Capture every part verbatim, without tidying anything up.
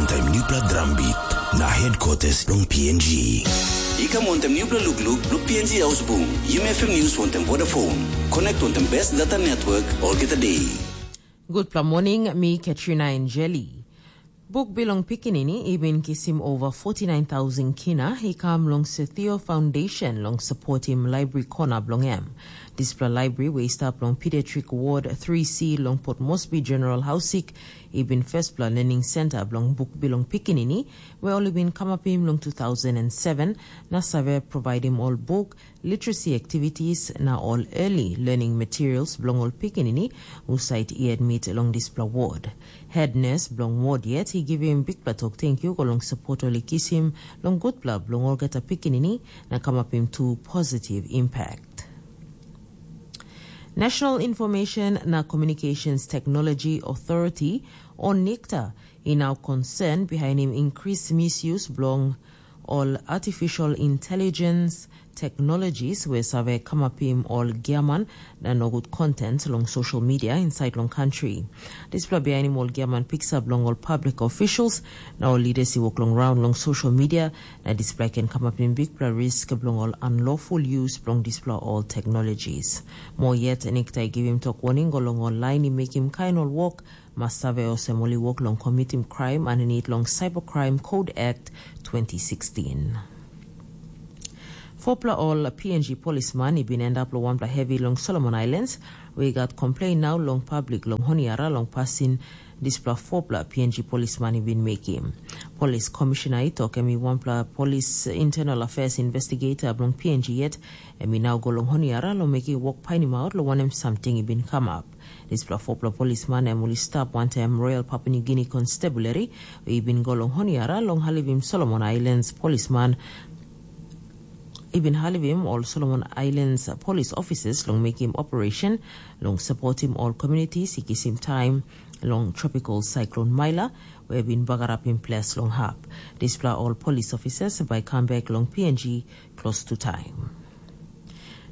Taim nupela drum beat na headquarters long P N G. I kam wantaim nupela lukluk long P N G Ausbung, Yumi F M News wantaim Vodafone. Connect wantaim best data network olgeta day. Gutpela morning, mi Katrina Angeli. Buk bilong pikinini i bin kisim over forty-nine thousand kina i kam long Sethio Foundation long supportim library kona bilong em. Dispela library we i stap long Pediatric Ward three C long Port Moresby General Hausik i bin firstpela learning center bilong buk bilong pikinini we ol i bin kamapim long two thousand and seven na save providim ol buk, literacy activities na ol early learning materials bilong ol pikinini husat i admit long dispela ward. Head nurse bilong ward yet i givim bikpela tok tenkyu go long support ol i kisim long gutpela bilong olgeta pikinini na kamapim tu positive impact. National Information na Communications Technology Authority, o NICTA, i nau concern bihainim increase misuse bilong ol artificial intelligence technologies we save kamapim ol giaman na nogut content long social media inside long country. Dispela bihainim ol giaman piksa bilong ol public officials na ol leaders i wok long raun long social media, na dispela i ken kamapim bikpela risk bilong ol unlawful use bilong dispela ol technologies. Mo yet, NICTA i givim tok waning go long ol lain i mekim kain ol wok mas save olsem ol i wok long komitim kraim aninit long Cybercrime Code Act twenty sixteen. Fopela ol P N G polisman i bin endap long wanpela hevi long Solomon Islands, we i gat komplein nau long public long Honiara long pasin dispela fopela P N G polisman i bin mekim. Polis komishina i tok em i wanpela polis internal affairs investigator bilong P N G yet, em i nau go long Honiara long mekim wok painimaut long wanem samting i bin kamap. Dispela fopela polisman em ol i stap wantaim Royal Papua New Guinea Constabulary, i bin go long Honiara long halivim Solomon Islands polisman i bin halivim ol Solomon Islands polis ofisas long mekim operation long supportim ol communities i kisim taim long tropical cyclone Maila, we bin bagarapim ples long hap. Dispela ol polis ofisas bai kam bek long P N G klostu taim.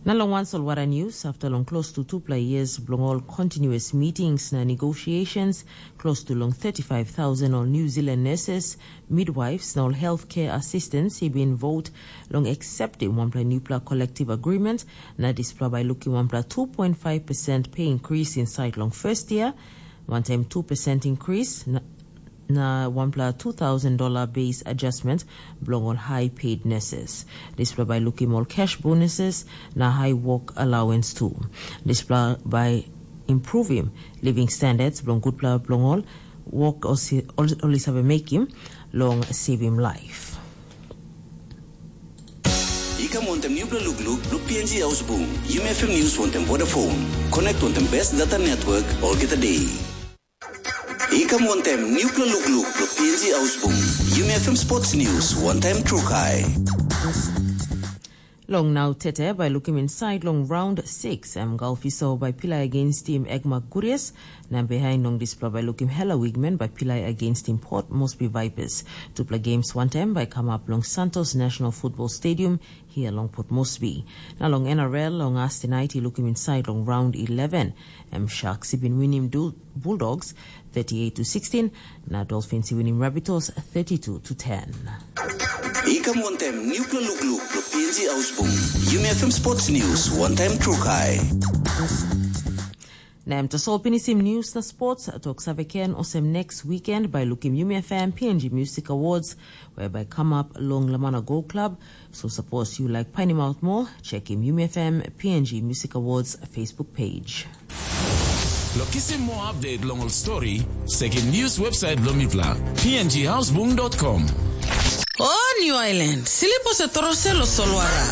Na long wan solwara news, after long close to tupela years bilong ol continuous meetings na negotiations, close to long thirty-five thousand ol New Zealand nurses, midwives na ol healthcare assistants i bin vote long acceptim wanpela newpela collective agreement, na dispela bai lukim wanpela two point five percent pay increase inside long first year, wantaim two percent increase na na wanpela two thousand dollar base adjustment bilong ol high paid nurses. Dispela bai lukim ol cash bonuses na high work allowance tu. Dispela bai improvim living standards bilong gutpela bilong ol work ol i save mekim long saving life. I kam wantaim newpela lukluk bilong P N G Ausbung, Yumi F M News wantaim Vodafone. Connect wantaim best data network olgeta day. I kam wantaim newpela lukluk bilong P N G Ausbung, Yumi F M Sports News wantaim Trukai. Long nau tete bai lukim inside long round six, em Galfiso bai pilai against tim Egmak Gurias, na behind long dispela bai lukim Hela Wigman bai pilai against tim Port Moresby Vipers. Tupela games wantaim bai kamap long Santos National Football Stadium hia long Port Moresby. Na long N R L long as tonight i lukim inside long round eleven, em Sharks i bin winim Bulldogs thirty-eight to sixteen, na Dolphins i winim Rabbitohs thirty-two to ten. I kam wantaim newpela lukluk bilong P N G Ausbung, Yumi F M Sports News wantaim Trukai. Na em tasol pinisim news na sports, tok save ken olsem next weekend bai lukim Yumi F M P N G Music Awards, where bai come up long Lamana Go Club. So suppose you like painim out more, check him Yumi F M P N G Music Awards Facebook page. Lo kisim more update long ol story, sekim news website bilong mipela, P N G houseboom dot com. O New Island, silipo se torose lo solwara.